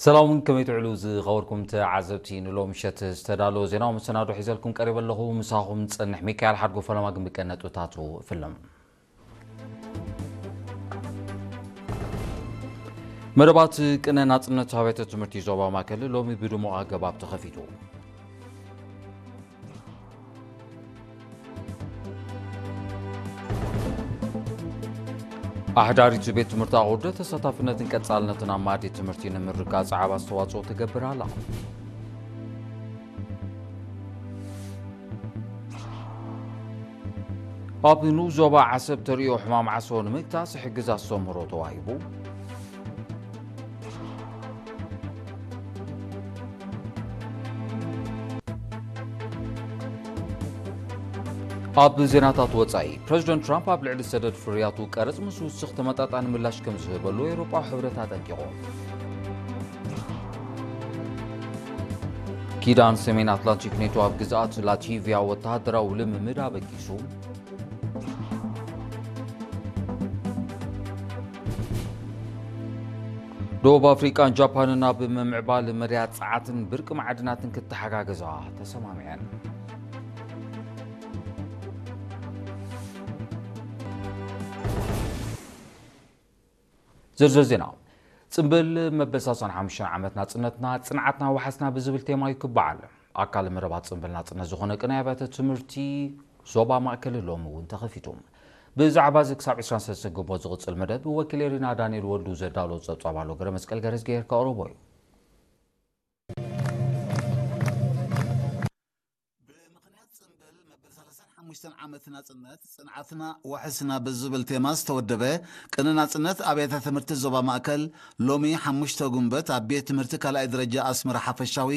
ሰላምን ከመይ ትውዕሉ ዝኸበርኩም ተዓዘብቲ፣ ንሎም ምሸት ዝተዳለወ ዜናዊ መሰናዶ ሒዘልኩም ቀሪበ ኣለኹ። ምሳኹም ዝጸንሕ ሚካኤል ሓድጎ። ፈለማ ግን ብቀነጥብታቱ ፍልም። መደባት ቅነ ናጽነት ኣብያተ ትምህርቲ ዞባ ማእከል ሎሚ ብድሙቕ ኣገባብ ተኸፊቱ። ኣሕዳሪት ቤት ትምህርቲ ኣቑርደ ተሳታፍነትን ቀጻልነትን ኣብ ማእዲ ትምህርቲ ንምርጋጽ ዓቢ ኣስተዋጽኦ ትገብር ኣላ። ኣብ ንኡስ ዞባ ዓሰብ ተርእዮ ሕማም ዓሶ ንምግታእ ዝሕግዝ ኣስተምህሮ ተዋሂቡ። ኣብ ዜናታት ወጻኢ፣ ፕረዚደንት ትራምፕ ኣብ ልዕሊ ሰደድ ፍርያቱ ቀረጽ ምስ ውስኽ ተመጣጣኒ ምላሽ ከም ዝህበሉ ኤውሮጳዊ ሕብረት ኣጠንቂቑ። ኪዳን ሰሜን ኣትላንቲክ ኔቶ ኣብ ግዝኣት ላቲቪያ ወተሃደራዊ ልምምድ ኣበጊሱ። ደቡብ ኣፍሪቃን ጃፓንን ኣብ ምምዕባል መድያት ጸዓትን ብርቂ ማዕድናትን ክተሓጋገዛ ተሰማሚዐን። ዝርዝር ዜና። ጽምብል መበል ሰላሳን ሓሙሽተን ዓመት ናጽነትና፣ ጽንዓትና፣ ዋሕስና ብዝብል ቴማ እዩ ክበዓል። ኣካል መረባት ጽምብል ናጽነት ዝኾነ ቅነ ኣብያተ ትምህርቲ ዞባ ማእከል ሎሚ እውን ተኸፊቱ። ብዛዕባ እዚ ክሳብ ዕስራን ሰለስተን ግንቦት ዝቕጽል መደብ ወኪል ኤሪና ዳንኤል ወልዱ ዘዳሎ ጸብጻብ ኣሎ። ገረ መስቀል ገረዝጌር ከቕርቦ እዩ። ብምኽንያት ጽምብል መበል ሰላሳን ሓሙሽተን ዓመት ናጽነት፣ ጽንዓትና ዋሕስና ብዝብል ቴማ ዝተወደበ ቅነ ናጽነት ኣብያተ ትምህርቲ ዞባ ማእከል ሎሚ ሓሙሽተ ጉንበት ኣብ ቤት ትምህርቲ ካልኣይ ደረጃ ኣስመራ ሓፈሻዊ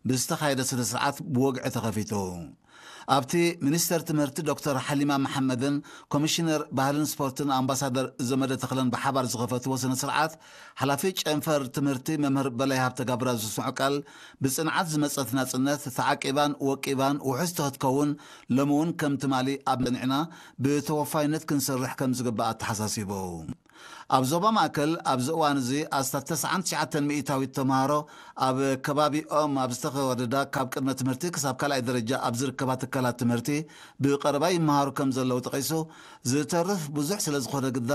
ብዝተኻየደ ስነ ስርዓት ብወግዒ ተኸፊቱ። ኣብቲ ሚኒስተር ትምህርቲ ዶክተር ሓሊማ መሓመድን ኮሚሽነር ባህልን ስፖርትን ኣምባሳደር ዘመደ ተኽለን ብሓባር ዝኸፈትዎ ስነ ስርዓት፣ ሓላፊ ጨንፈር ትምህርቲ መምህር በላይ ሃብተጋብራ ዝስምዖ ቃል፣ ብጽንዓት ዝመጸት ናጽነት ተዓቂባን ወቂባን ውሕስቲ ክትከውን፣ ሎሚ እውን ከም ትማሊ ኣብ ጸኒዕና ብተወፋይነት ክንሰርሕ ከም ዝግባእ ኣተሓሳሲቡ። ኣብ ዞባ ማእከል ኣብዚ እዋን እዚ ኣስታት ተስዓን ትሽዓተን ሚእታዊት ተምሃሮ ኣብ ከባቢኦም ኣብ ዝተወደዳ ካብ ቅድመ ትምህርቲ ክሳብ ካልኣይ ደረጃ ኣብ ዝርከባ ትካላት ትምህርቲ ብቐረባ ይመሃሩ ከም ዘለዉ ጠቒሱ፣ ዝተርፍ ብዙሕ ስለ ዝኾነ ግዳ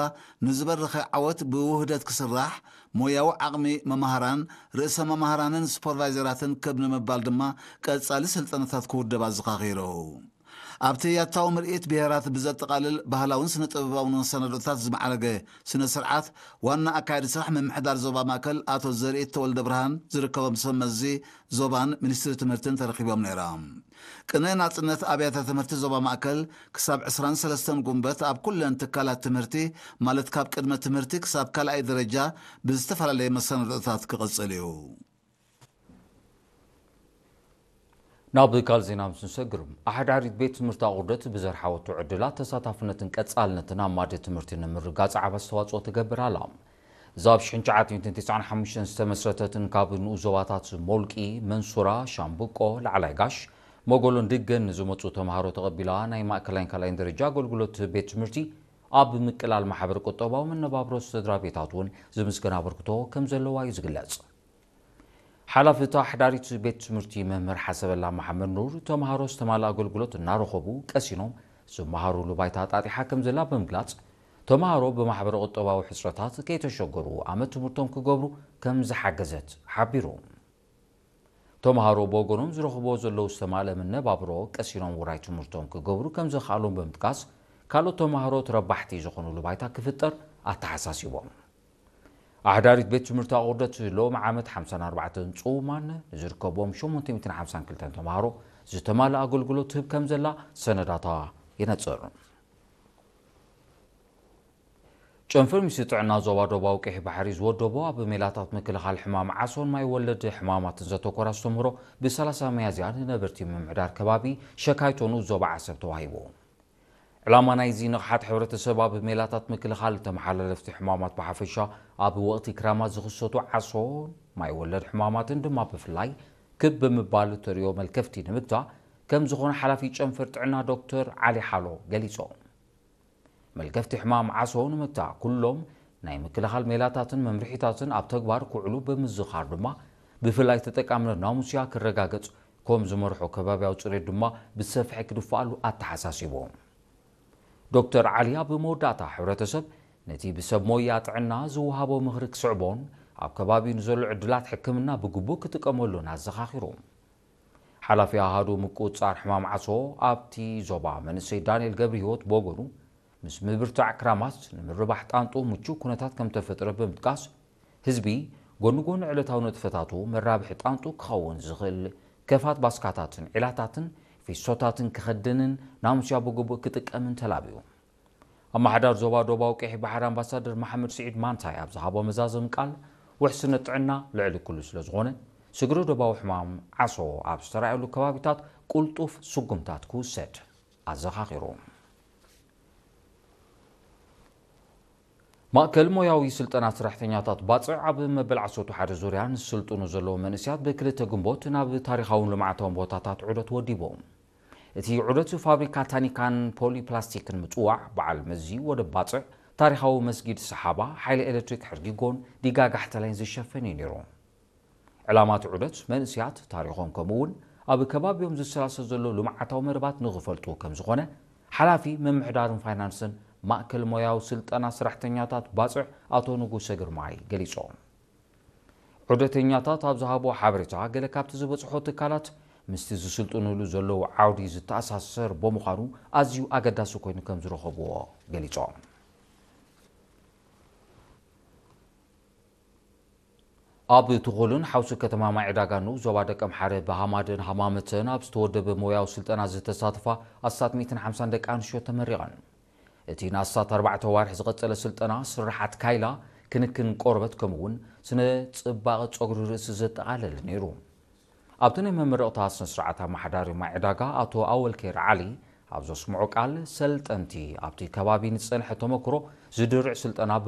ንዝበረኸ ዓወት ብውህደት ክስራሕ፣ ሞያዊ ዓቕሚ መማህራን፣ ርእሰ መማህራንን ሱፐርቫይዘራትን ክብ ንምባል ድማ ቀጻሊ ስልጠናታት ክውደብ ኣዘኻኺሩ። ኣብቲ ያታዊ ምርኢት ብሄራት ብዘጠቓልል ባህላውን ስነ ጥበባውን መሰናዶታት ዝማዕረገ ስነ ስርዓት፣ ዋና ኣካያዲ ስራሕ ምምሕዳር ዞባ ማእከል ኣቶ ዘርኢት ተወልደ ብርሃን ዝርከቦም ሰብ መዚ ዞባን ሚኒስትሪ ትምህርትን ተረኺቦም ነይሮም። ቅነ ናጽነት ኣብያተ ትምህርቲ ዞባ ማእከል ክሳብ ዕስራን ሰለስተን ጉንበት ኣብ ኩለን ትካላት ትምህርቲ፣ ማለት ካብ ቅድመ ትምህርቲ ክሳብ ካልኣይ ደረጃ ብዝተፈላለየ መሰናዶታት ክቕጽል እዩ። ናብ ካልእ ዜና ምስ ንሰግር፣ ኣሕዳሪት ቤት ትምህርቲ ኣቑርደት ብዘርሓወቶ ዕድላት ተሳታፍነትን ቀጻልነትን ኣብ ማእዲ ትምህርቲ ንምርጋጽ ዓቢ ኣስተዋጽኦ ትገብር ኣላ። እዛ ኣብ ሽሕን ትሽዓተ ሚእትን ተስዓን ሓሙሽተን ዝተመስረተትን ካብ ንኡስ ዞባታት ሞልቂ፣ መንሱራ፣ ሻምብቆ፣ ላዕላይ ጋሽ፣ መጎሎን ድገን ንዝመጹ ተምሃሮ ተቐቢላ ናይ ማእከላይን ካልኣይን ደረጃ ኣገልግሎት ቤት ትምህርቲ ኣብ ምቅላል ማሕበረ ቁጠባዊ መነባብሮ ስድራ ቤታት እውን ዝምስገን ኣበርክቶ ከም ዘለዋ እዩ ዝግለጽ። ሓላፊ እታ ኣሕዳሪት ቤት ትምህርቲ መምህር ሓሰበላ መሓመድ ኑር፣ ተምሃሮ ዝተማልኣ ኣገልግሎት እናረኸቡ ቀሲኖም ዝመሃሩሉ ባይታ ኣጣጢሓ ከም ዘላ ብምግላጽ፣ ተምሃሮ ብማሕበረ ቁጠባዊ ሕጽረታት ከይተሸገሩ ኣመት ትምህርቶም ክገብሩ ከም ዝሓገዘት ሓቢሩ። ተምሃሮ ብወገኖም ዝረኽብዎ ዘለዉ ዝተማልአ መነባብሮ ቀሲኖም ውራይ ትምህርቶም ክገብሩ ከም ዘኽኣሎም ብምጥቃስ፣ ካልኦት ተምሃሮ ተረባሕቲ ዝኾኑሉ ባይታ ክፍጠር ኣተሓሳሲቦም። ኣሕዳሪት ቤት ትምህርቲ ኣቑርደት ሎሚ ዓመት ሓምሳን ኣርባዕተን ጽውማን ንዝርከብዎም ሸሞንተ ሚእትን ሓምሳን ክልተን ተምሃሮ ዝተማልአ ኣገልግሎት ትህብ ከም ዘላ ሰነዳታ የነጽር። ጨንፈር ሚኒስትሪ ጥዕና ዞባ ደቡባዊ ቀይሕ ባሕሪ ዝወደቦ ኣብ ሜላታት ምክልኻል ሕማም ዓሶን ማይ ወለድ ሕማማትን ዘተኮረ ኣስተምህሮ ብ ሰላሳ ሚያዝያ ንነበርቲ ምምሕዳር ከባቢ ሸካይቶ ንኡስ ዞባ ዓሰብ ተዋሂቡ። ዕላማ ናይዚ ንቕሓት ሕብረተሰብ ኣብ ሜላታት ምክልኻል ተመሓላለፍቲ ሕማማት ብሓፈሻ ኣብ ወቕቲ ክራማት ዝኽሰቱ ዓሶን ማይ ወለድ ሕማማትን ድማ ብፍላይ ክብ ብምባል እተርእዮ መልከፍቲ ንምግታእ ከም ዝኾነ ሓላፊ ጨንፈር ጥዕና ዶክተር ዓሊ ሓሎ ገሊጾም። መልከፍቲ ሕማም ዓሶ ንምግታእ ኩሎም ናይ ምክልኻል ሜላታትን መምርሒታትን ኣብ ተግባር ክውዕሉ ብምዝኻር ድማ፣ ብፍላይ ተጠቃምነት ናሙስያ ክረጋገጽ፣ ከም ዝመርሖ ከባብያዊ ጽሬት ድማ ብሰፍሐ ክድፍኣሉ ኣተሓሳሲቡ። ዶክተር ዓሊ ኣብ መወዳእታ፣ ሕብረተሰብ ነቲ ብሰብ ሞያ ጥዕና ዝወሃቦ ምኽሪ ክስዕቦን ኣብ ከባቢኡ ንዘሎ ዕድላት ሕክምና ብግቡእ ክጥቀመሉን ኣዘኻኺሩ። ሓላፊ ኣሃዱ ምቁጽጻር ሕማም ዓሶ ኣብቲ ዞባ መንእሰይ ዳንኤል ገብረህይወት ብወገኑ፣ ምስ ምብርታዕ ክራማት ንምርባሕ ጣንጡ ምቹው ኩነታት ከም ተፈጥረ ብምጥቃስ፣ ህዝቢ ጎኒ ጎኒ ዕለታዊ ንጥፈታቱ መራብሒ ጣንጡ ክኸውን ዝኽእል ከፋት ባስካታትን ዒላታትን ፊሶታትን ክኸድንን ናሙስያ ብግቡእ ክጥቀምን ተላብዩ። ኣመሓዳሪ ዞባ ዶባዊ ቀይሕ ባሕሪ ኣምባሳደር መሓመድ ስዒድ ማንታይ ኣብ ዝሃቦ መዛዘሚ ቃል፣ ውሕስነት ጥዕና ልዕሊ ኩሉ ስለ ዝኾነ፣ ስግረ ዶባዊ ሕማም ዓሶ ኣብ ዝተራእየሉ ከባቢታት ቁልጡፍ ስጉምታት ክውሰድ ኣዘኻኺሩ። ማእከል ሞያዊ ስልጠና ሰራሕተኛታት ባጽዕ ኣብ መበል ዓሰርተ ሓደ ዙርያ ንስልጥኑ ዘለዉ መንእስያት ብክልተ ግንቦት ናብ ታሪኻውን ልምዓታውን ቦታታት ዑደት ወዲቡ። እቲ ዑደት ፋብሪካ ታኒካን ፖሊፕላስቲክን ምጽዋዕ፣ በዓል መዚ ወደብ ባጽዕ፣ ታሪኻዊ መስጊድ ሰሓባ፣ ሓይሊ ኤሌክትሪክ ሕርጊጎን ዲጋ ጋሕተላይን ዝሸፈን እዩ ነይሩ። ዕላማ እቲ ዑደት መንእስያት ታሪኾም ከምኡ እውን ኣብ ከባቢኦም ዝሰላሰል ዘሎ ልምዓታዊ መደባት ንኽፈልጡ ከም ዝኾነ ሓላፊ ምምሕዳርን ፋይናንስን ማእከል ሞያዊ ስልጠና ሰራሕተኛታት ባጽዕ ኣቶ ንጉሰ ግርማይ ገሊጾም። ዑደተኛታት ኣብ ዝሃቦ ሓበሬታ፣ ገለ ካብቲ ዝበጽሖ ትካላት ምስቲ ዝስልጥኑሉ ዘለዉ ዓውዲ ዝተኣሳሰር ብምዃኑ ኣዝዩ ኣገዳሲ ኮይኑ ከም ዝረኸብዎ ገሊጾም። ኣብ ትኹልን ሓውሲ ከተማ ማይ ዕዳጋ ንኡስ ዞባ ደቀምሓረ ብሃማደን ሃማመተን ኣብ ዝተወደበ ሞያዊ ስልጠና ዝተሳተፋ ኣስታት ሚእትን ሓምሳን ደቂ ኣንስትዮ ተመሪቐን። እቲ ንኣስታት ኣርባዕተ ዋርሕ ዝቐጸለ ስልጠና ስርሓት ካይላ፣ ክንክን ቆርበት ከምኡ እውን ስነ ጽባቐ ጸጉሪ ርእሲ ዘጠቓለለ ነይሩ። ኣብቲ ናይ መመረቕታ ስነ ስርዓት ኣመሓዳሪ ማይ ዕዳጋ ኣቶ ኣወልኬር ዓሊ ኣብ ዘስምዖ ቃል፣ ሰልጠንቲ ኣብቲ ከባቢ ንዝጸንሐ ተመክሮ ዝድርዕ ስልጠና